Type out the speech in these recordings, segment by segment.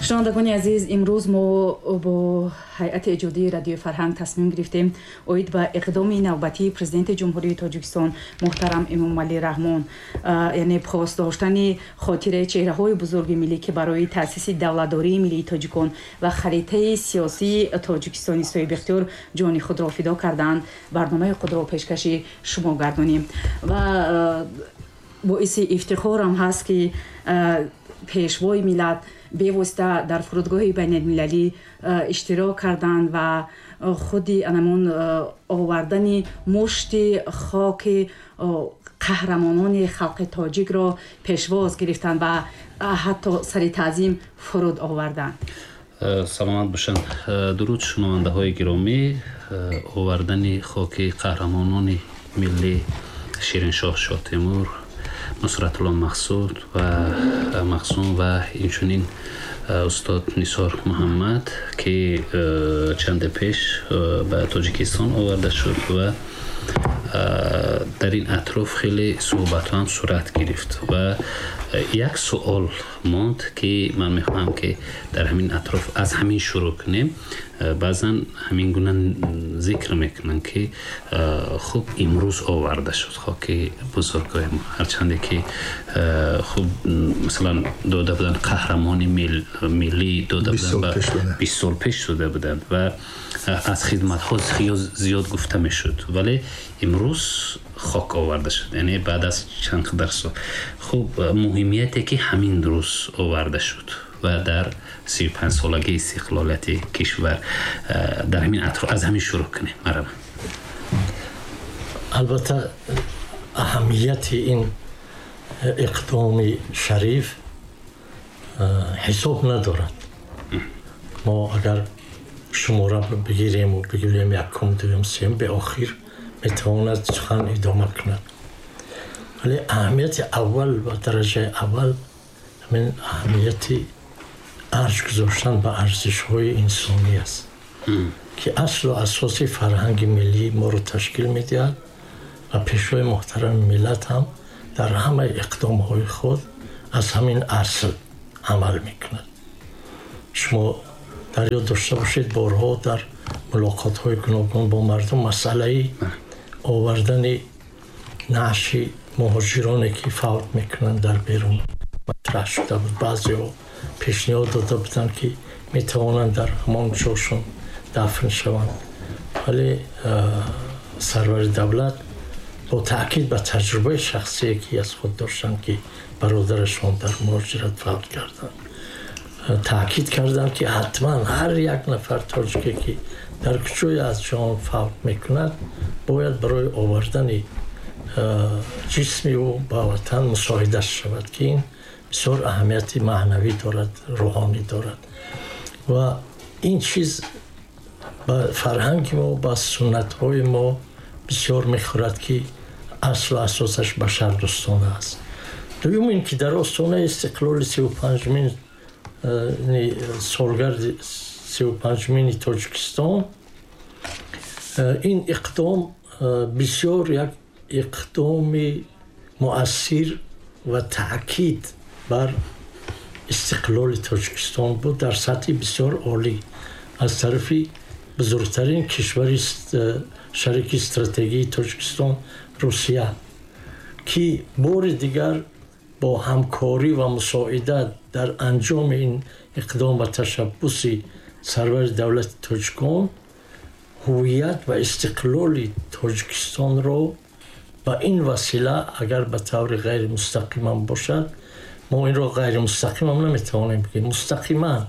Шунавандагони азиз, имрӯз мо бо ҳайати эҷодии Радиои Фарҳанг тасмим гирифтем оид ба иқдоми навбатии Президенти Ҷумҳурии Тоҷикистон муҳтарам Эмомалӣ Раҳмон, яъне пос доштани хотираи чеҳраҳои бузурги миллӣ, ки барои таъсиси давлатдории миллии тоҷикон ва харитаи сиёсии Тоҷикистони соҳибихтиёр ҷони худро фидо карданд, барномаи худро пешкаши шумо гардонем. Ва боиси ифтихорам ҳаст, ки Пешвои миллат бевосита дар фурудгоҳи байналмилалӣ иштирок карданд ва худи анамон овардани мушти хоки қаҳрамонони халқи тоҷикро пешвоз гирифтанд ва ҳатто сари таъзим фуруд оварданд. Саломат бошанд. Дуруд, шунавандаҳои гиромӣ. Овардани хоки қаҳрамонони миллӣ Шириншоҳ Шоҳтемур, Нусратулло Мақсуд ва Мақсум ва инчунин устод Нисор Муҳаммад, ки чанде пеш ба Тоҷикистон оварда шуд ва дар ин атроф хеле суҳбатҳо ҳам сурат гирифт ва як суол монд, ки ман мехоҳам, ки дар ҳамин атроф аз ҳамин шурӯъ кунем. Баъзан ҳамин гуна зикр мекунанд, ки хуб, имрӯз оварда шуд хоки бузургои мо, ҳарчанде ки хуб, масалан, дода буданд, қаҳрамони миллӣ дода буданд, 20 сол пеш дода буданд ва аз хидматҳо зиёд гуфта мешуд, вале имрӯз хок оварда шуд, яъне баъд аз чанд қадар сол. Хуб, муҳимияте, ки ҳамин рӯз оварда шуд ва дар 35-солагии истиқлолияти кишвар, дар ҳамин атроф аз ҳамин шурӯъ кунем, марҳамат. Албатта, аҳамияти ин иқдоми шариф ҳисоб надорад. Мо агар шумора бигирему бигӯем якум, дуюм, сеюм, беохир метавонад сухан идома кунад, вале аҳамияти аввал ва дараҷаи аввал ҳамин аҳамияти арҷ гузоштан ба арзишҳои инсонӣ аст, ки аслу асоси фарҳанги миллии моро ташкил медиҳад ва Пешвои муҳтарами миллат ҳам дар ҳамаи иқдомҳои худ аз ҳамин асл амал мекунад. Шумо дар ёд дошта бошед, борҳо дар мулоқотҳои гуногун бо мардум масъалаи овардани наъши муҳоҷироне, ки фавт мекунанд дар берун, матраҳ шуда буд. Баъзеҳо пешниҳод дода буданд, ки метавонанд дар ҳамон ҷошон дафн шаванд, вале сарвари давлат бо таъкид ба таҷрибаи шахсие, ки аз худ доштанд, ки бародарашон дар муҳоҷират фавт карданд, таъкид карданд, ки ҳатман ҳар як нафар тоҷике, ки дар куҷое аз ҷаҳон фавт мекунад, бояд барои овардани ҷисми ӯ ба ватан мусоидат шавад, ки ин бисёр аҳамияти маънавӣ дорад, рӯҳонӣ дорад ва ин чиз ба фарҳанги мо, ба суннатҳои мо бисёр мехӯрад, ки аслу асосаш башардӯстона аст. Дуюм ин ки дар остонаи истиқлоли 35-умин солгарди 35-умини Тоҷикистон ин иқдом бисёр як иқдоми муассир ва таъкид бар истиқлоли Тоҷикистон буд дар сатҳи бисёр олӣ аз тарафи бузургтарин кишвари шарики стратегии Тоҷикистон, Русия, ки бори дигар бо ҳамкорӣ ва мусоидат дар анҷоми ин иқдом ва ташаббуси сарвари давлати тоҷикон ҳувият ва истиқлоли Тоҷикистонро ба ин васила, агар ба таври ғайримустақимам бошад, мо инро ғайримустақимам наметавонем бигӯем, мустақиман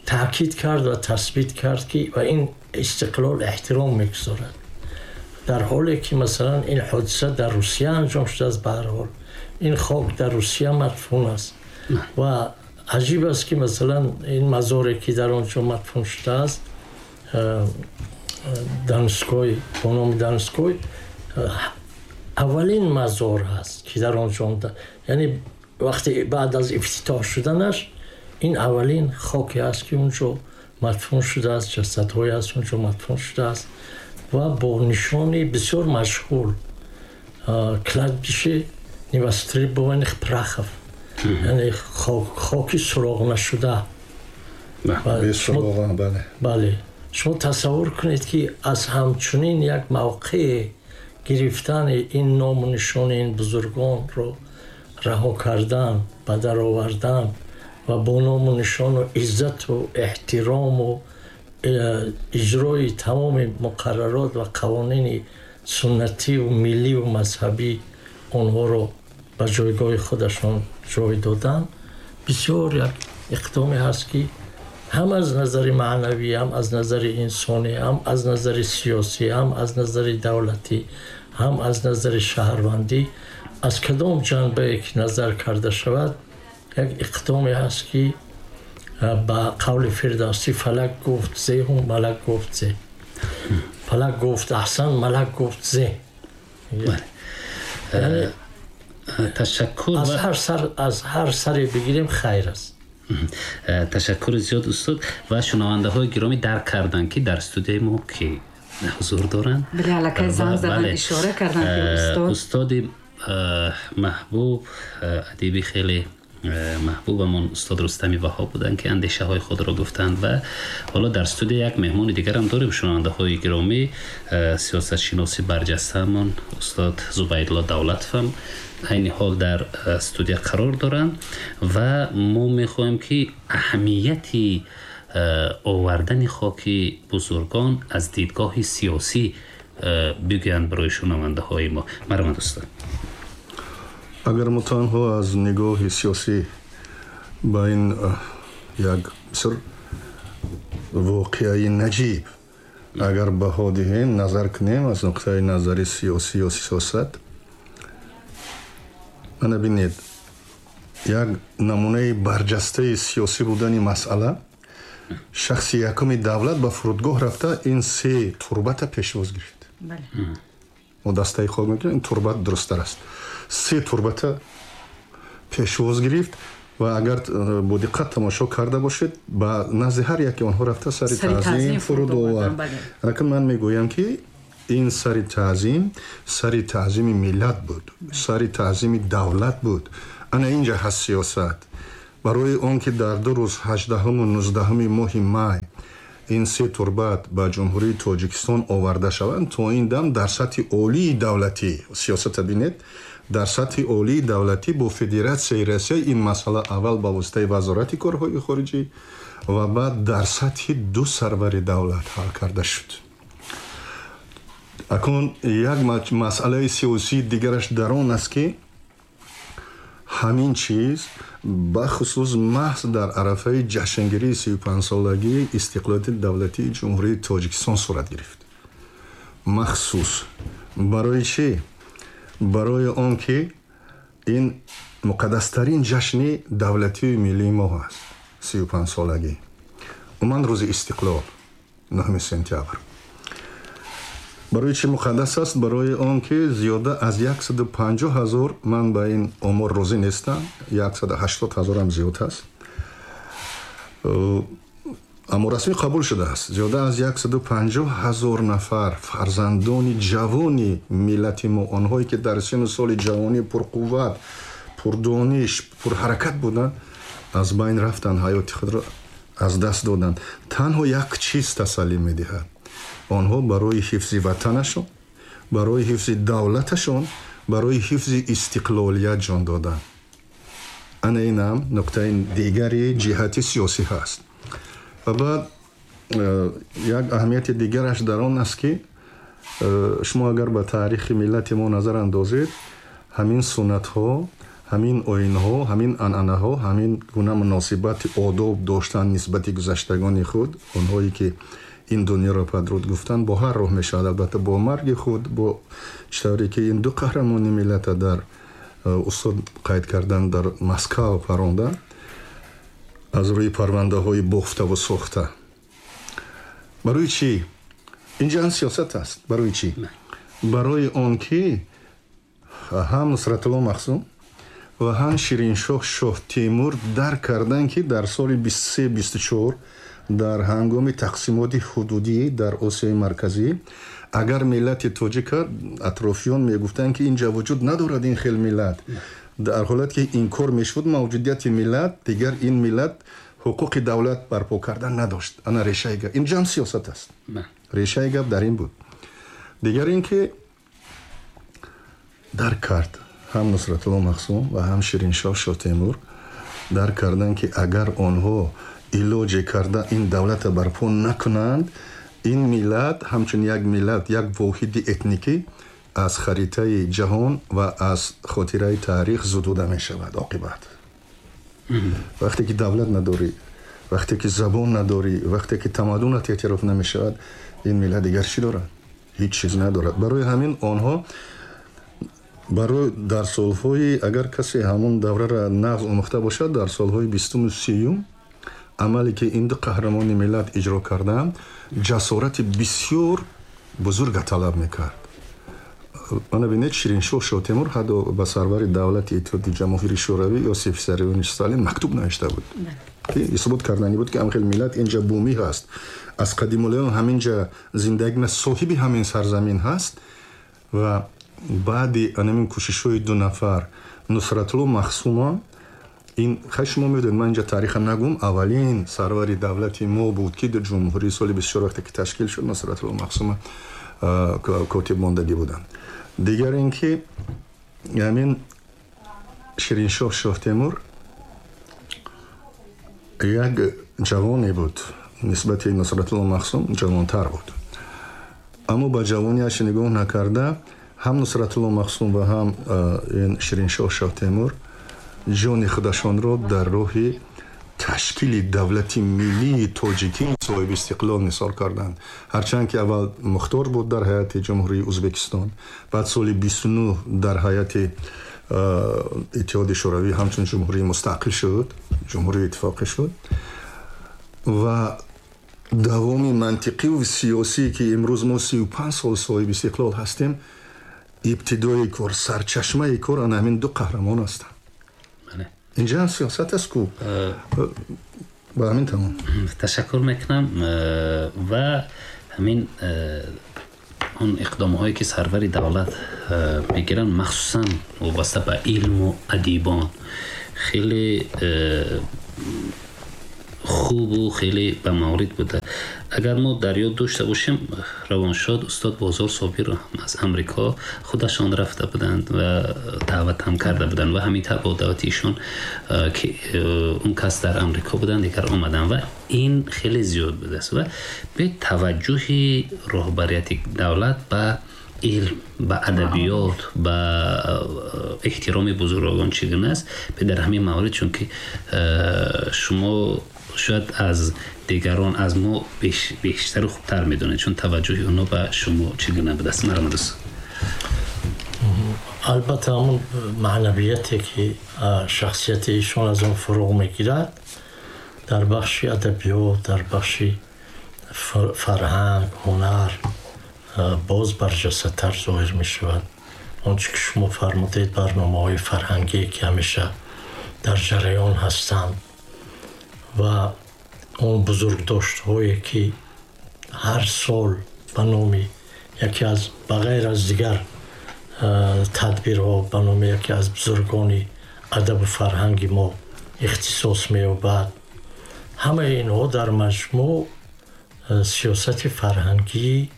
таъкид кард ва тасбит кард, ки ба ин истиқлол эҳтиром мегузорад, дар ҳоле ки, масалан, ин ҳодиса дар Русия анҷом шудааст. Ба ҳар ҳол, ин хок дар Русия мадфун аст ва аҷиб аст, ки, масалан, ин мазоре, ки дар он ҷо мадфун шудааст, Донской, бо номи Донской, аввалин мазор ҳаст, ки дар он ҷо, яъне вақте баъд аз ифтитоҳ шуданаш, ин аввалин хоке аст, ки унҷо мадфун шудааст, ҷасадҳое аст, унҷо мадфун шудааст ва бо нишони бисёр машҳур «Кладбище невостребованных прахов», яъне хоки суроғ нашуда. Бале, шумо тасаввур кунед, ки аз ҳамчунин як мавқеъ гирифтани ин ному нишони ин бузургонро раҳо кардан, ба дар овардан ва бо ному нишону иззату эҳтирому иҷрои тамоми муқаррарот ва қавонини суннативу милливу мазҳабӣ онҳоро ба ҷойгоҳи худашон ҷой додан бисёр як иқдоме ҳаст, ки ҳам аз назари маънавӣ, ҳам аз назари инсонӣ, ҳам аз назари сиёсӣ, ҳам аз назари давлатӣ, ҳам аз назари шаҳрвандӣ, аз кадом ҷанбае ки назар карда шавад, як иқдоме ҳаст, ки ба қавли Фирдавсӣ фалак гуфт зеҳу малак гуфт зе, фалак гуфт аҳсан, малак гуфт зе. Ташаккур. Аз ҳар саре бигирем, хайр аст. Ташаккури зиёд, устод. Ва шунавандаҳои гиромӣ дарк карданд, ки дар студияи мо ки ҳузур доранд. Бале, аллакай занг задан, ишора карданд, ки устод устоди маҳбуб, адиби хеле маҳбубамон, устод Рустами Ваҳоб буданд, ки андешаҳои худро гуфтанд. Ва ҳоло дар студия як меҳмони дигарам дорем, шунавандаҳои гиромӣ, сиёсатшиноси барҷастаамон устод Зубайдулло Давлатовам айни ҳол дар студия қарор доранд. Ва мо мехоҳем, ки аҳамияти овардани хоки бузургон аз дидгоҳи сиёсӣ бигӯянд барои шунавандаҳои мо. Марҳамат, устод. Агар мо танҳо аз нигоҳи сиёсӣ ба ин як бисёр воқеаи наҷиб агар баҳо диҳем, назар кунем аз нуқтаи назари сиёсӣ ё сиёсат, мана бинед, як намунаи барҷастаи сиёсӣ будани масъала: шахси якуми давлат ба фурудгоҳ рафта, ин се турбата пешвоз гирифт. Мо дастаи хок мекунем, ин турбат дурусттар аст. Се турбата пешвоз гирифт ва агар бо диққат тамошо карда бошед, ба назди ҳар яке онҳо рафта, сари таъзим фуруд овард. Акн ман мегӯям, ки ин сари таъзим сари таъзими миллат буд, сари таъзими давлат буд. Ана инҷа ҳаст сиёсат. Барои он ки дар 2 рӯз, 18-уму 19-уми моҳи май, ин се турбат ба Ҷумҳурии Тоҷикистон оварда шаванд, то ин дам дар сатҳи олии давлатӣ, сиёсата бинед, дар сатҳи олии давлатӣ бо Федератсияи Россия ин масъала аввал ба воситаи Вазорати корҳои хориҷӣ ва баъд дар сатҳи ду сарвари давлат ҳал карда шуд. Акнун як масъалаи сиёсии дигараш дар он аст, ки ҳамин чиз бахусус маҳз дар арафаи ҷашнгирии 35-солагии истиқлолияти давлатии Ҷумҳурии Тоҷикистон сурат гирифт. Махсус барои чӣ? Барои он ки ин муқаддастарин ҷашни давлатию миллии мо ҳаст, 35-солагӣ, умуман рӯзи истиқлол, 9 сентябр. Барои чӣ муқаддас аст? Барои он ки зиёда аз 150 ҳазор, ман ба ин омор розӣ нестам, 180 ҳазорам зиёд аст, аммо расмӣ қабул шудааст, зиёда аз 150 ҳазор нафар фарзандони ҷавони миллати мо, онҳое ки дар сину соли ҷавонӣ пурқувват, пурдониш, пурҳаракат буданд, аз байн рафтанд, ҳаёти худро аз даст доданд. Танҳо як чиз тасаллӣ медиҳад: онҳо барои ҳифзи ватанашон, барои ҳифзи давлаташон, барои ҳифзи истиқлолият ҷон доданд. Ана инам нуқтаи дигари ҷиҳати сиёсӣ ҳаст. Ва баъд як аҳамияти дигараш дар он аст, ки шумо агар ба таърихи миллати мо назар андозед, ҳамин суннатҳо, ҳамин оинҳо, ҳамин анъанаҳо, ҳамин гуна муносибати одоб доштан нисбати гузаштагони худ, онҳое ки ин дунёро падруд гуфтанд, бо ҳар роҳ мешавад, албатта бо марги худ, бо чӣ тавре ки ин ду қаҳрамони миллата дар устод қайд кардан, дар Москав парондан аз рӯи парвандаҳои бофтаву сохта. Барои чӣ? Инҷа ҳам сиёсат аст. Барои чӣ? Барои он ки ҳам Нусратулло Махсум ва ҳам Шириншоҳ Шоҳтемур дарк карданд, ки дар соли 23-24 дар ҳангоми тақсимоти ҳудудӣ дар Осиёи Марказӣ, агар миллати тоҷика атрофиён мегуфтанд, ки инҷа вуҷуд надорад ин хел миллат, дар ҳолате ки инкор мешуд мавҷудияти миллат, дигар ин миллат ҳуқуқи давлат барпо кардан надошт. Ана решаи гап. Инҷа ҳам сиёсат аст. Решаи гап дар ин буд. Дигар ин ки дарк кард ҳам Нусратулло Махсум ва ҳам Шириншоҳ Шоҳтемур дарк карданд, ки агар онҳо илоҷе карда ин давлата барпо накунанд, ин миллат ҳамчун як миллат, як воҳиди этникӣ аз харитаи ҷаҳон ва аз хотираи таърих зудуда мешавад оқибат. Вақте ки давлат надорӣ, вақте ки забон надорӣ, вақте ки тамаддунат эътироф намешавад, ин миллат дигар чӣ дорад? Ҳеҷ чиз надорад. Барои ҳамин онҳо барои дар солҳои, агар касе ҳамон давраро нағз омӯхта бошад, дар солҳои бистуму сиюм амале ки ин ду қаҳрамони миллат иҷро карданд, ҷасорати бисёр бузурга талаб мекард. Мана бинед, Шириншоҳ Шоҳтемур ҳатто ба сарвари давлати Иттиҳоди Ҷамоҳири Шӯравӣ Иосиф Виссарионович Сталин мактуб навишта буд, ки исбот карданӣ буд, ки ҳамхел миллат инҷа бумӣ ҳаст, аз қадимулайём ҳаминҷа зиндагӣ, соҳиби ҳамин сарзамин ҳаст. Ва баъди анамин кӯшишҳои ду нафар, Нусратулло Махсума, ин хай шумо медонед, ман инҷа таъриха нагум, аввалин сарвари давлати мо буд, ки дар ҷумҳурии соли 24 вақте ки ташкил шуд, Нусратулло Махсума котиб мондагӣ буданд. Дигар ин ки ҳамин Шириншоҳ Шоҳтемур як ҷавоне буд, нисбати Нусратулло Махсум ҷавонтар буд, аммо ба ҷавониаш нигоҳ накарда ҳам Нусратулло Махсум ва ҳам ин Шириншоҳ Шоҳтемур ҷони худашонро дар роҳи ташкили давлати миллии тоҷикӣ соҳиби истиқлол нисор карданд. Ҳарчанд ки аввал мухтор буд дар ҳайати Ҷумҳурии Ӯзбекистон, баъд соли 29 дар ҳайати Иттиҳоди Шӯравӣ ҳамчун ҷумҳурии мустақил шуд, ҷумҳурии иттифоқӣ шуд. Ва давоми мантиқиву сиёсӣ, ки имрӯз мо 35 сол соҳиби истиқлол ҳастем, ибтидои кор, сарчашмаи кор ана ҳамин ду қаҳрамон ҳастанд. Инҷа ҳам сиёсат аст ку. Ба ҳамин тамом. Ташаккур мекунам. Ва ҳамин он иқдомҳое ки сарвари давлат мегиранд, махсусан вобаста ба илму адибон, хеле хубу хеле ба маврид буда. Агар мо дар ёд дошта бошем, равоншод устод Бозор Собир аз Амрико худашон рафта буданд ва даъват ҳам карда буданд ва ҳамин тавр бо даъвати ишон, ки он кас дар Амрико буданд, дигар омаданд ва ин хеле зиёд будааст. Ва бе таваҷҷӯҳи роҳбарияти давлат ба илм, ба адабиёт, ба эҳтироми бузургон чӣ гуна аст дар ҳамин маврид, чунки шумо шояд аз дигарон, аз мо бештару хубтар медонед, чун таваҷҷӯҳи онҳо ба шумо чӣ гуна будааст. Марҳамат, дӯст. Албатта, ҳамон маънавияте ки шахсияти ишон аз он фуруғ мегирад, дар бахши адабиёт, дар бахши фарҳанг, ҳунар боз барҷастатар зоҳир мешавад. Он чӣ ки шумо фармудед, барномаҳои фарҳангие ки ҳамеша дар ҷараён ҳастанд ва он бузургдоштҳое ки ҳар сол ба номи яке аз, ба ғайр аз дигар тадбирҳо, ба номи яке аз бузургони адабу фарҳанги мо ихтисос меёбад, ҳамаи инҳо дар маҷмӯъ сиёсати фарҳангии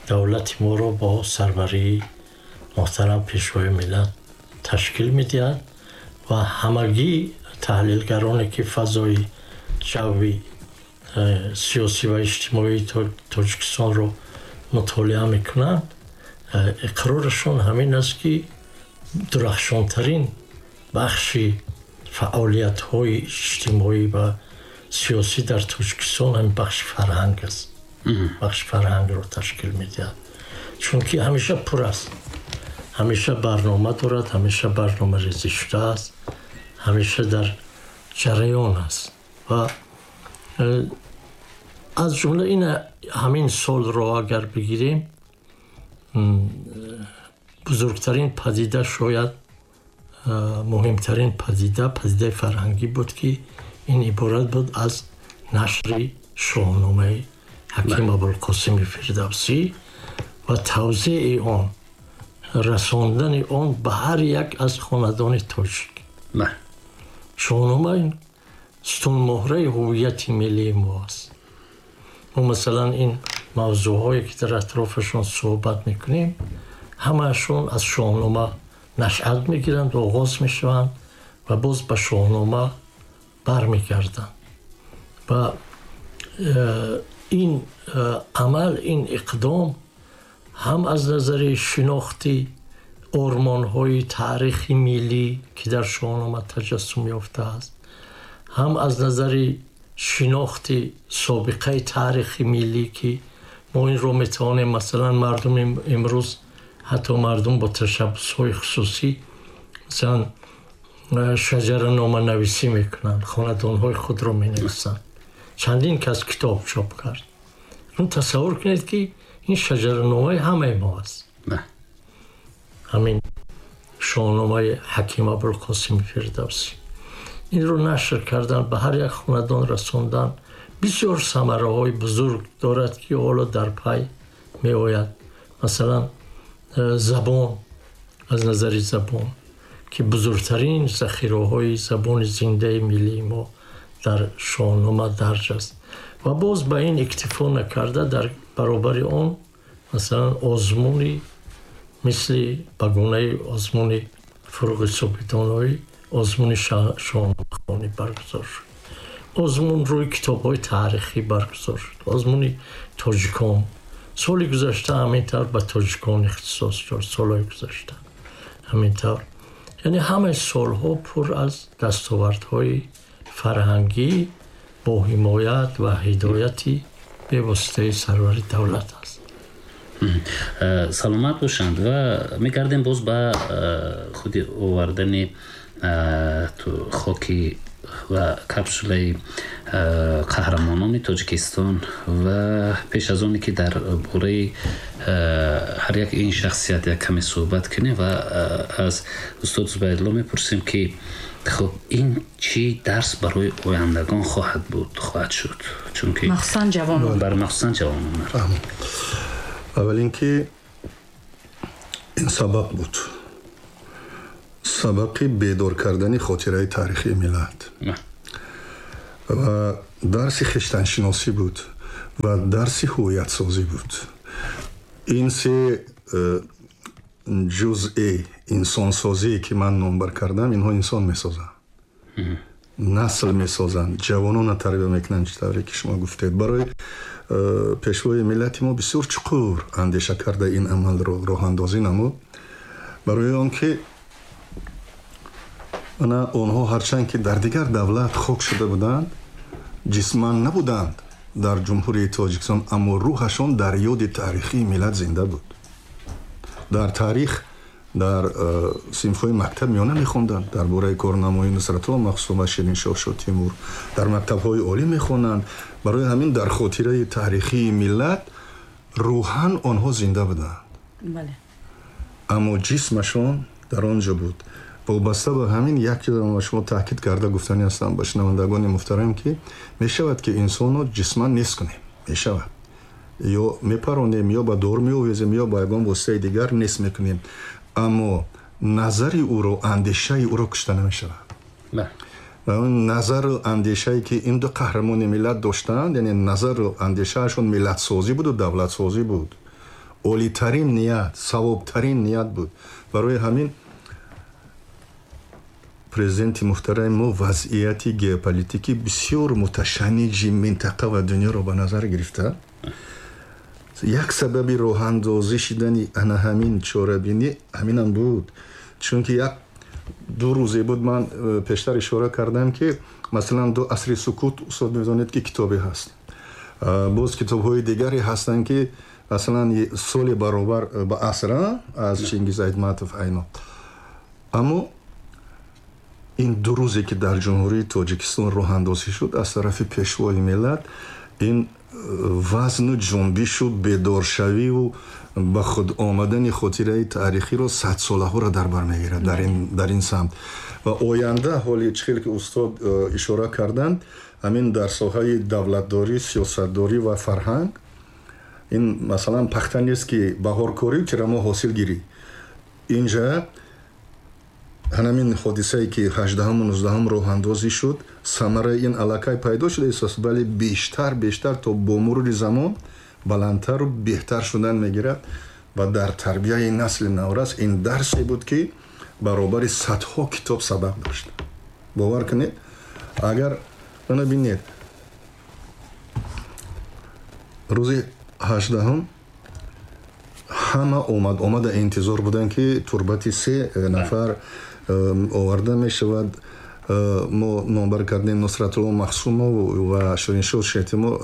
давлати моро бо сарварии муҳтарам Пешвои миллат ташкил медиҳад. Ва ҳамагӣ таҳлилгароне ки фазои ҷавви сиёсӣ ва иҷтимоии Тоҷикистонро мутолиа мекунанд, иқрорашон ҳамин аст, ки дурахшонтарин бахши фаъолиятҳои иҷтимоӣ ва сиёсӣ дар Тоҷикистон ҳамин бахши фарҳанг аст, бахши фарҳангро ташкил медиҳад, чунки ҳамеша пур аст, ҳамеша барнома дорад, ҳамеша барномарезӣ шудааст, ҳамеша дар ҷараён аст. Ва аз ҷумла ин ҳамин солро агар бигирем, бузургтарин падида, шояд муҳимтарин падида, падидаи фарҳангӣ буд, ки ин иборат буд аз нашри Шоҳномаи Ҳаким Абулқосими Фирдавсӣ ва тавзеи он, расондани он ба ҳар як аз хонадони тоҷик. Шоҳнома ин сутунмуҳраи ҳувияти миллии мо аст. Мо масалан ин мавзӯъҳое ки дар атрофашон суҳбат мекунем, ҳамаашон аз Шоҳнома нашъат мегиранд, оғоз мешаванд ва боз ба Шоҳнома бармегарданд. Ва ин амал, ин иқдом ҳам аз назари шинохти ормонҳои таърихи миллӣ, ки дар Шоҳнома таҷассум ёфтааст, ҳам аз назари шинохти собиқаи таърихи миллӣ, ки мо инро метавонем, масалан мардуми имрӯз, ҳатто мардум бо ташаббусҳои хусусӣ масалан шаҷараноманависӣ мекунанд, хонадонҳои худро менависанд. Чандин кас китоб чоп кард. Тасаввур кунед, ки ин шаҷараномаи ҳамаи мо аст. Ҳамин Шоҳномаи Ҳаким Абулқосими Фирдавсӣ. Инро нашр кардан, ба ҳар як хонадон расондан бисёр самараҳои бузург дорад, ки ҳоло дар пай меояд. Масалан, забон, аз назари забон, ки бузургтарин захираҳои забони зиндаи миллии мо дар Шоҳнома дарҷ аст. Ва боз ба ин иктифо накарда, дар баробари он масалан озмуни мисли ба гунаи озмуни Фурӯғи Субҳидоноӣ, озмуни шоҳномахонӣ баргузор шуд, озмун рӯи китобҳои таърихӣ баргузор шуд, озмуни тоҷикон соли гузашта ҳамин тавр ба тоҷикон ихтисос дошт, солҳои гузашта ҳамин тавр. Яъне ҳамаи солҳо пур аз дастовардҳои фарҳангӣ бо ҳимоят ва ҳидояти бевоситаи сарвари давлат аст. Саломат бошанд. Ва мегардем боз ба худи овардани хоки ва капсулаи қаҳрамонони Тоҷикистон. Ва пеш аз оне ки дар бораи ҳар як ин шахсият як каме суҳбат кунем, ва аз устод Зубайдулло мепурсем, ки хуб, ин чӣ дарс барои ояндагон хоҳад буд, хоҳад шуд, чунки махсусан ҷавонон, бар махсусан ҷавонон. Аввал ин ки ин сабақ буд, сабақи бедор кардани хотираи таърихии миллат ва дарси хештаншиносӣ буд ва дарси ҳувиятсозӣ буд. Ин се ҷузъи инсонсозие, ки ман номбар кардам, инҳо инсон месозанд, насл месозанд, ҷавононро тарбия мекунанд, чӣ тавре ки шумо гуфтед. Барои пешвои миллати мо бисёр чуқур андеша карда ин амалро роҳандозӣ намуд, барои он ки ана онҳо ҳарчанд ки дар дигар давлат хок шуда буданд, ҷисман набуданд дар Ҷумҳурии Тоҷикистон, аммо рӯҳашон дар ёди таърихии миллат зинда буд. Дар таърих дар синфҳои мактаб миёна мехонданд дар бораи корнамои Нусратулло Махсум ва Шириншоҳ Шотимур, дар мактабҳои олӣ мехонанд. Барои ҳамин дар хотираи таърихии миллат рӯҳан онҳо зинда буданд, аммо ҷисмашон дар он ҷо буд. Вобаста ба ҳамин як чизро ба шумо таъкид карда гуфтанӣ ҳастам, ба шунавандагони муҳтарам, ки мешавад ки инсонро ҷисман нест кунем, мешавад, ё мепаронем, ё ба дор меовезем, ё ба ягон воситаи дигар нест мекунем, аммо назари ӯро, андешаи ӯро кушта намешавад. Ва он назару андешае, ки ин ду қаҳрамони миллат доштанд, яъне назару андешаашон миллатсозӣ буду давлатсозӣ буд, олитарин ният, савобтарин ният буд. Барои ҳамин президенти муҳтарами мо вазъияти геополитикӣ бисёр муташанниҷи минтақа ва дунёро ба назар гирифта, як сабаби роҳандозӣ шидани ана ҳамин чорабинӣ ҳаминам буд. Чунки як ду рӯзе буд, ман пештар ишора кардам, ки масалан «Ду асри сукут», устод медонед, ки китобе ҳаст, боз китобҳои дигаре ҳастанд, ки масалан «Соли баробар ба аср» аз Чингиз Айтматов айно. Аммо ин ду рӯзе, ки дар Ҷумҳурии Тоҷикистон роҳандозӣ шуд аз тарафи пешвои миллат, ин вазну ҷунбишу бедоршавиву ба худ омадани хотираи таърихиро садсолаҳоро дар бар мегирад дар ин самт. Ва оянда ҳоли чӣ хел ки устод ишора карданд, ҳамин дар соҳаи давлатдорӣ, сиёсатдорӣ ва фарҳанг, ин масалан пахта нест, ки баҳоркорӣ, тирамо ҳосил гирӣ. Инҷа Ҳамин ҳодисае ки 18-ҳаму 19-ҳам роҳандозӣ шуд, самараи ин аллакай пайдо шуда истааст, вале бештар то бо мурури замон баландтару беҳтар шудан мегирад ва дар тарбияи насли наврас ин дарсе буд, ки баробари садҳо китоб сабақ дошт. Бовар кунед, агар ана бинед, рӯзи 18-ҳам ҳама омада интизор буданд, ки турбати се нафар оварда мешавад. Мо номбар кардем Нусратулло Махсумов ва Шириншоҳ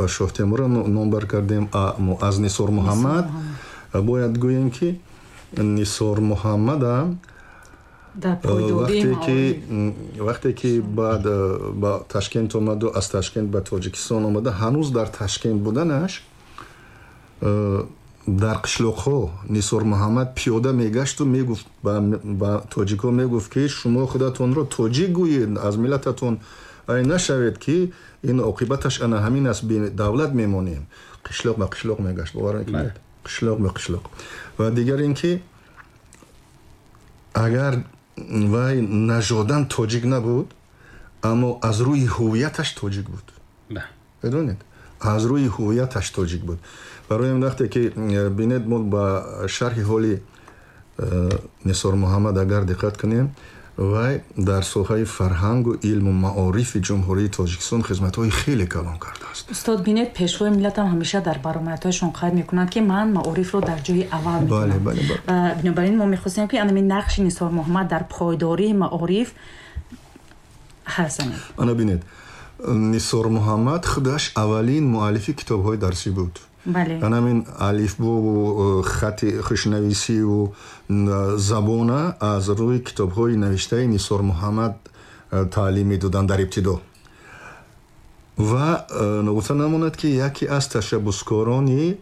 Шоҳтемурро номбар кардем. Аз Нисор Муҳаммад бояд гӯем, ки Нисор Муҳаммадам вақте ки баъд ба Ташкент омаду аз Ташкент ба Тоҷикистон омада, ҳанӯз дар Ташкент буданаш дар қишлоқҳо Нисор Муҳаммад пиёда мегашту мегуфт, ба тоҷикҳо мегуфт, ки шумо худатонро тоҷик гӯед, аз миллататон ай нашавед, ки ин оқибаташ ана ҳамин аст, бедавлат мемонем. Қишлоқ ба қишлоқ мегашт, бовар мекунед, қишлоқ ба қишлоқ. Ва дигар ин ки агар вай нажодан тоҷик набуд, аммо аз рӯи ҳувияташ тоҷик буд. Медонед, аз рӯи ҳувияташ тоҷик буд. Барои ин вақте ки бинед, мо ба шарҳи ҳоли Нисор Муҳаммад агар диққат кунем, вай дар соҳаи фарҳангу илму маорифи Ҷумҳурии Тоҷикистон хизматҳои хеле калон кардааст. Устод, бинед, пешвои миллатам ҳамеша дар баромадҳояшон қайд мекунанд, ки ман маорифро дар ҷои аввал мекунам. Бинобар ин мо мехостем, ки анамин нақши Нисор Муҳаммад дар пойдории маориф ҳарф занем. Ана бинед, Нисор Муҳаммад худаш аввалин муаллифи китобҳои дарсӣ буд. Анамин алифбову хати хушнависиву забона аз рӯи китобҳои навиштаи Нисор Муҳаммад таълим медоданд дар ибтидо. Ва ногуфта намонад, ки яке аз ташаббускорони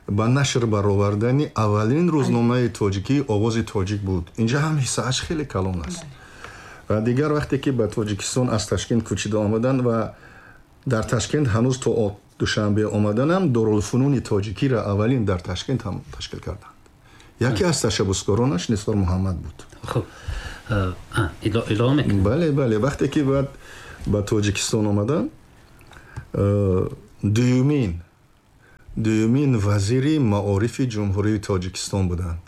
ба нашр баровардани аввалин рӯзномаи тоҷикӣ «Овози тоҷик» буд. Инҷа ҳам ҳиссааш хеле калон аст. Ва дигар вақте ки ба Тоҷикистон аз Ташкент кӯчида омаданд ва дар Ташкент ҳанӯз то Душанбе омаданам Дорулфунуни тоҷикиро аввалин дар Ташкент ҳам ташкил карданд. Яке аз ташаббускоронаш Нисор Муҳаммад буд. Хуб, илова мекунед? Бале, бале. Вақте ки баъд ба Тоҷикистон омаданд, дуюмин вазири маорифи Ҷумҳурии Тоҷикистон буданд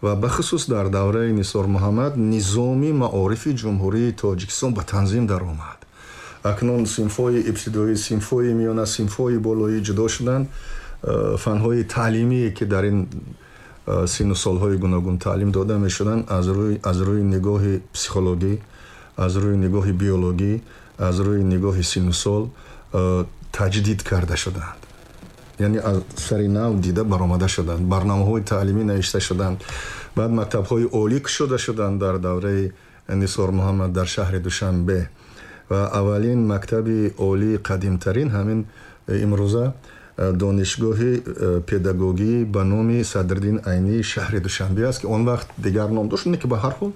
ва бахусус дар давраи Нисор Муҳаммад низоми маорифи Ҷумҳурии Тоҷикистон ба танзим даромад. Акнун синфҳои ибтидоӣ, синфҳои миёна, синфҳои болоӣ ҷудо шуданд. Фанҳои таълимие ки дар ин синну солҳои гуногун таълим дода мешуданд, аз рӯи нигоҳи психологӣ, аз рӯи нигоҳи биологӣ, аз рӯи нигоҳи синну сол таҷдид карда шуданд, яъне аз сари нав дида баромада шуданд, барномаҳои таълимӣ навишта шуданд. Баъд мактабҳои олӣ кушода шуданд дар давраи Нисор Муҳаммад дар шаҳри Душанбе ва аввалин мактаби олии қадимтарин ҳамин имрӯза донишгоҳи педагогӣ ба номи Садриддин Айнии шаҳри Душанбе аст, ки он вақт дигар ном дошт, не ки ба ҳар ҳол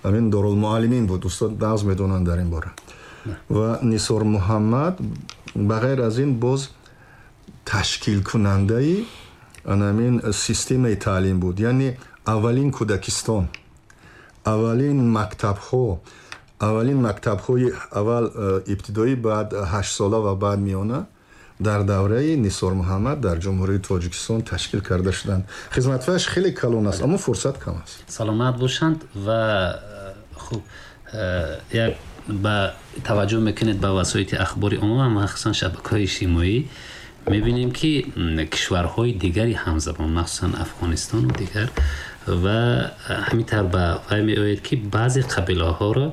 ҳамин Дорулмуаллимин буд. Устод нағз медонанд дар ин бора. Ва Нисор Муҳаммад ба ғайр аз ин боз ташкилкунандаи анамин системаи таълим буд, яъне аввалин кӯдакистон, аввалин мактабҳо, аввалин мактабҳои аввал ибтидоӣ, баъд 8-сола ва баъд миёна дар давраи Нисор Муҳаммад дар Ҷумҳурии Тоҷикистон ташкил карда шуданд. Хизматҳояш хеле калон аст, аммо фурсат кам аст. Саломат бошанд. Ва хуб, як ба таваҷҷӯҳ мекунед ба васоити ахбори омма, махсусан шабакаҳои иҷтимоӣ, мебинем, ки кишварҳои дигари ҳамзабон, махсусан Афғонистону дигар, ва ҳамин тавр ба вай меояд, ки баъзе қабилаҳоро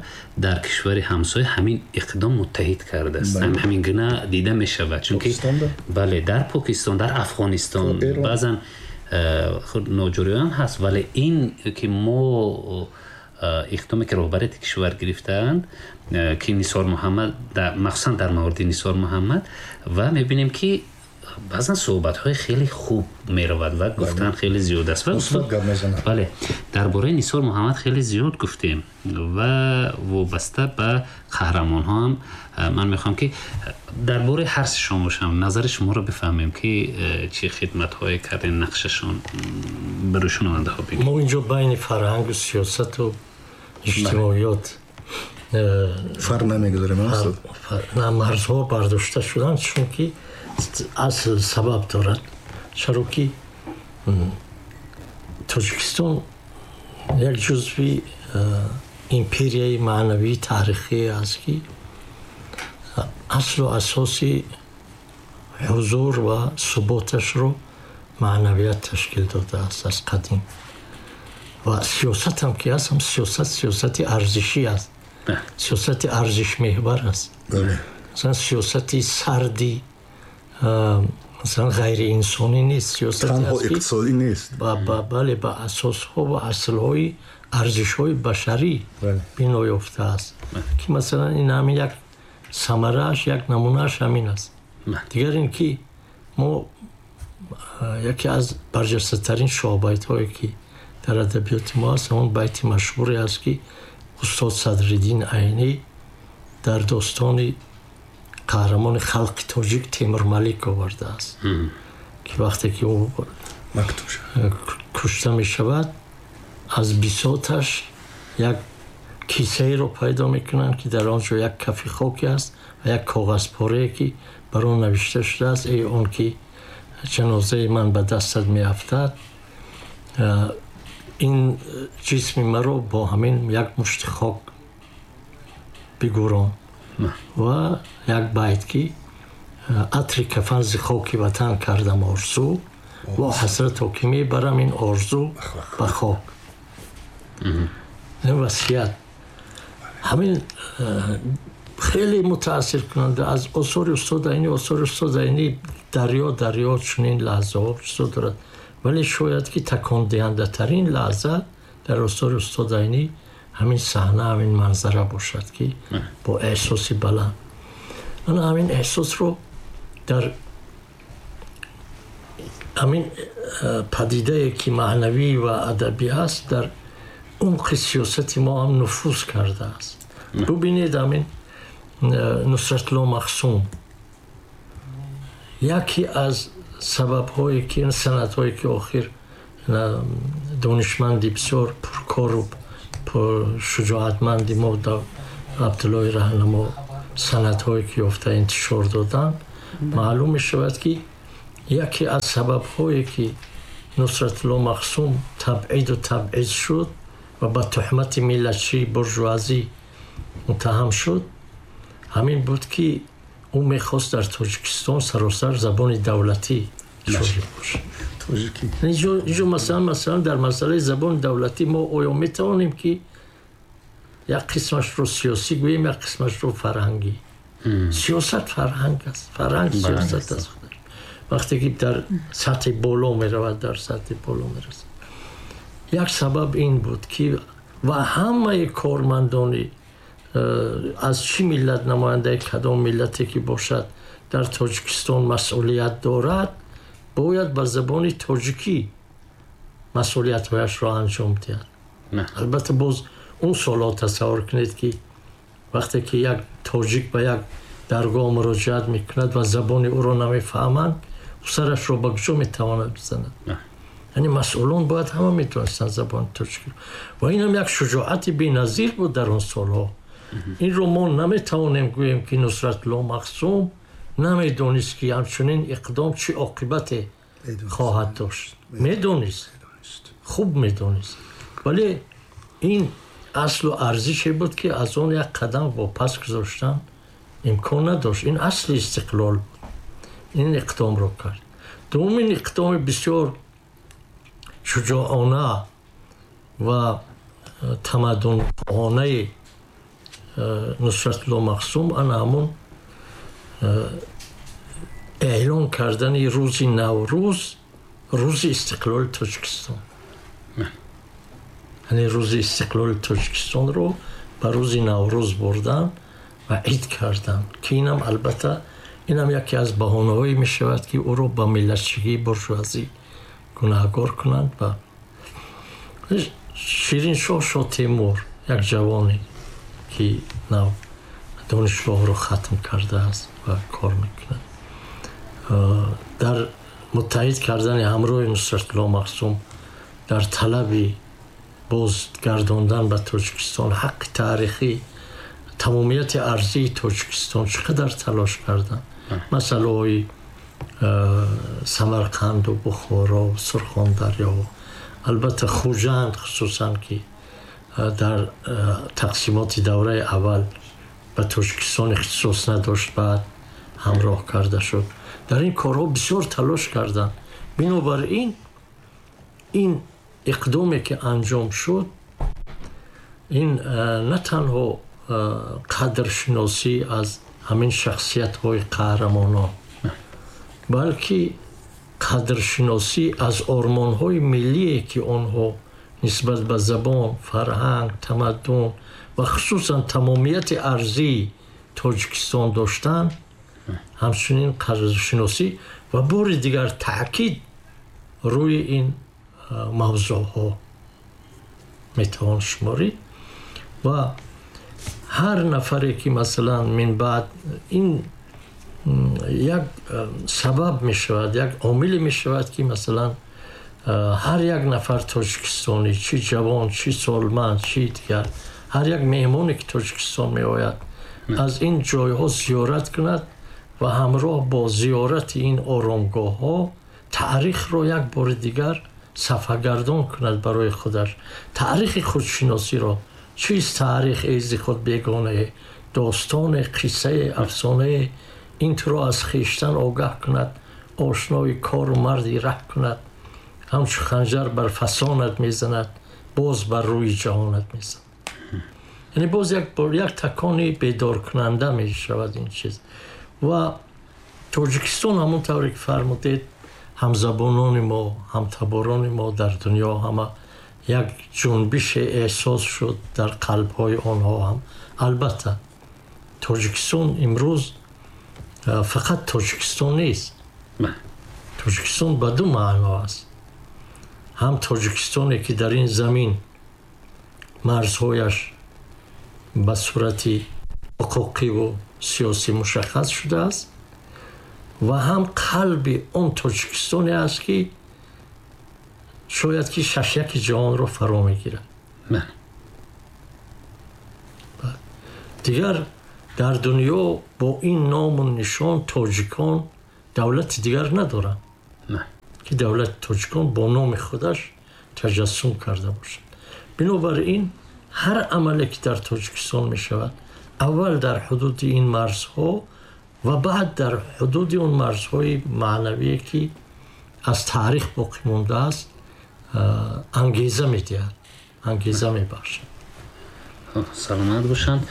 дар кишвари ҳамсоя ҳамин иқдом муттаҳид кардааст. Ҳамин гуна дида мешавад, чунки бале, дар Покистон, дар Афғонистон баъзан худ ноҷориён ҳаст, вале ин ки мо иқдоме ки роҳбарияти кишвар гирифтаанд, ки Нисор Муҳаммад, махсусан дар мавриди Нисор Муҳаммад, ва мебинем, ки баъзан суҳбатҳои хеле хуб меравад ва гуфтан хеле зиёд аст. Бале, дар бораи Нисор Муҳаммад хеле зиёд гуфтем ва вобаста ба қаҳрамонҳо ҳам ман мехоҳам, ки дар бораи ҳар сешон бошам, назари шуморо бифаҳмем, ки чӣ хидматҳое кардем, нақшашон барои шунавандаҳо бигӯед. Мо инҷо байни фарҳангу сиёсату иҷтимоиёт фарқ намегузорем. На, марзҳо бардошта шуданд, чунки асл сабаб дорад. Чаро ки Тоҷикистон як ҷузви империяи маънавии таърихие аст, ки аслу асоси ҳузур ва суботашро маънавият ташкил додааст аз қадим. Ва сиёсатам ки аст, ҳам сиёсат сиёсати арзишӣ аст, сиёсати арзишмеҳвар аст. Масалан, сиёсати сарди, масалан, ғайриинсонӣ нест, сиёсатанҳо иқтисодӣ нест. Бале, ба асосҳо ва аслҳои арзишҳои башарӣ бино ёфтааст, ки масалан ин ҳамин як самарааш, як намунааш ҳамин аст. Дигар ин ки мо яке аз барҷастатарин шоҳбайтҳое ки дар адабиёти мо аст, ҳамон байти машҳуре аст, ки устод Садриддин Айнӣ дар достони қаҳрамони халқи тоҷик Темурмалик овардааст, ки вақте ки ӯ кушта мешавад, аз бисоташ як кисаеро пайдо мекунанд, ки дар он ҷо як кафи хоке аст ва як коғазпорае, ки бар он навишта шудааст: «Эй он ки ҷанозаи ман ба дастат меафтад, ин ҷисми маро бо ҳамин як мушти хок бигӯрон». Ва як байт, ки «Атри кафан зи хоки ватан кардам орзу, во ҳасрато, ки мебарам ин орзу ба хок». Ин васият ҳамин хеле мутаассиркунанда аз осори устод Айнӣ. Осори устод Айнӣ дарё дарё чунин лаҳзаҳо чизо дорад, вале шояд ки такондиҳандатарин лаҳза дар осори устод Айнӣ ҳамин саҳна, ҳамин манзара бошад, ки бо эҳсоси баланд ана ҳамин эҳсосро дар ҳамин падидае, ки маънавӣ ва адабӣ аст, дар умқи сиёсати мо ҳам нуфуз кардааст. Бубинед, ҳамин Нусратулло Махсум яке аз сабабҳое ки санадҳое ки охир донишманди бисёр пуркору пуршуҷоатманди мо, Абдуллои Раҳнамо, санадҳое ки ёфта интишор доданд, маълум мешавад, ки яке аз сабабҳое ки Нусратулло Махсум табъиду табъиз шуд ва ба туҳмати миллатчии буржуазӣ муттаҳам шуд, ҳамин буд, ки ӯ мехост дар Тоҷикистон саросар забони давлатӣ ҷорӣ бошад. Инҷо масалан дар масъалаи забони давлатӣ мо оё метавонем, ки як қисмашро сиёсӣ гӯем, як қисмашро фарҳангӣ? Сиёсат фарҳанг аст, фарҳанг сиёсат аст. Вақте ки дар сатҳи боло меравад, дар сатҳи боло мерасад. Як сабаб ин буд, ки ва ҳамаи кормандони аз чӣ миллат, намояндаи кадом миллате ки бошад, дар Тоҷикистон масъулият дорад, бояд ба забони тоҷикӣ масъулиятҳояшро анҷом диҳад. Албатта, боз он солҳо тасаввур кунед, ки вақте ки як тоҷик ба як даргоҳ муроҷиат мекунад ва забони ӯро намефаҳманд, ӯ сарашро ба куҷо метавонад бизанад? Яъне масъулон бояд ҳама метавонистанд забони тоҷикӣ. Ва инам як шуҷоати беназир буд дар он солҳо. Инро мо наметавонем гӯем, ки Нусратулло Махсум намедонист, ки ҳамчунин иқдом чӣ оқибате хоҳад дошт. Медонист, хуб медонист, вале ин аслу арзише буд, ки аз он як қадам вопас гузоштан имкон надошт. Ин асли истиқлол буд. Ин иқдомро кард. Дуввумин иқдоми бисёр шуҷоона ва тамаддунхоҳонаи Нусратулло Махсум ана ҳамон эълон кардани рӯзи Наврӯз рӯзи истиқлоли Тоҷикистон, яъне рӯзи истиқлоли Тоҷикистонро ба рӯзи Наврӯз бурдан ва ид кардан, ки инам албатта инам яке аз баҳонаҳое мешавад, ки ӯро ба миллатчигии буржуазӣ гунаҳгор кунанд. Ва Шириншоҳ Шотемур, як ҷавоне, ки нав донишгоҳро хатм кардааст ва кор мекунад, дар муттаҳид кардани ҳамроҳи Нусратулло Махсум дар талаби бозгардондан ба Тоҷикистон, ҳаққи таърихӣ, тамомияти арзии Тоҷикистон чӣ қадар талош карданд. Масъалаҳои Самарқанду Бухоро, Сурхондарё, албатта Хуҷанд, хусусан ки дар тақсимоти давраи аввал ба Тоҷикистон ихтисос надошт, баъд ҳамроҳ карда шуд. Дар ин корҳо бисёр талош карданд. Бинобар ин ин иқдоме ки анҷом шуд, ин на танҳо қадршиносӣ аз ҳамин шахсиятҳои қаҳрамонон, балки қадршиносӣ аз ормонҳои миллие ки онҳо нисбат ба забон, фарҳанг, тамаддун ва хусусан тамомияти арзии Тоҷикистон доштанд, ҳамчунин қадршиносӣ ва бори дигар таъкид рӯи ин мавзӯъҳо метавон шуморид. Ва ҳар нафаре ки масалан минбаъд ин як сабаб мешавад, як омиле мешавад ки масалан ҳар як нафар тоҷикистонӣ, чӣ ҷавон, чӣ солманд, чӣ дигар, ҳар як меҳмоне ки Тоҷикистон меояд, аз ин ҷойҳо зиёрат кунад ва ҳамроҳ бо зиёрати ин оромгоҳҳо таърихро як бори дигар сафҳагардон кунад барои худаш, таърихи худшиносиро. Чист таърих эзи худ бегонае, достоне, қиссае, афсонае, ин туро аз хештан огаҳ кунад, ошнои кору марди раҳ кунад, ҳамчу ханҷар бар фасонат мезанад, боз бар рӯи ҷаҳонат мезанад. Яъне боз як такони бедоркунанда мешавад ин чиз. Ва Тоҷикистон ҳамон тавре ки фармудед, ҳамзабонони мо, ҳамтаборони мо дар дунё ҳама як ҷунбише эҳсос шуд дар қалбҳои онҳо ҳам. Албатта Тоҷикистон имрӯз фақат Тоҷикистон нест. Тоҷикистон ба ду маъно аст. Ҳам Тоҷикистоне ки дар ин замин марзҳояш ба сурати ҳуқуқиву сиёсӣ мушаххас шудааст, ва ҳам қалби он Тоҷикистоне аст ки шояд ки шашяки ҷаҳонро фаро мегирад. Дигар дар дунё бо ин ному нишон тоҷикон давлати дигар надоранд ки давлати тоҷикон бо номи худаш таҷассум карда бошад. Бинобар ин ҳар амале ки дар Тоҷикистон мешавад, аввал дар ҳудуди ин марзҳо ва баъд дар ҳудуди он марзҳои маънавие ки аз таърих боқӣ мондааст, ангеза медиҳад, ангеза мебахшад. Саломат бошанд.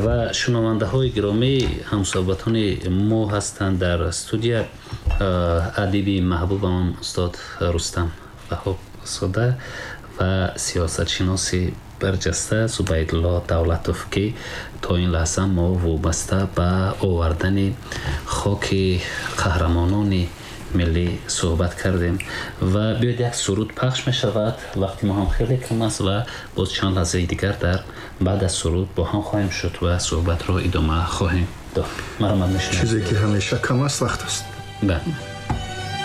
Ва шунавандаҳои гиромӣ, ҳамсӯҳбатони мо ҳастанд дар студия адиби маҳбубамон устод Рустам Ваҳобзода ва сиёсатшиноси барҷаста Зубайдулло Давлатов, ки то ин лаҳза мо вобаста ба овардани хоки қаҳрамонони миллӣ суҳбат кардем. Ва биёед як суруд пахш мешавад, вақти мо ҳам хеле кам аст ва боз чанд лаҳзаи дигар дар баъд аз суруд бо ҳам хоҳем шуд ва суҳбатро идома хоҳем дод. Марҳамат мешунавед. Чизе ки ҳамеша кам аст, вақт аст. Бале.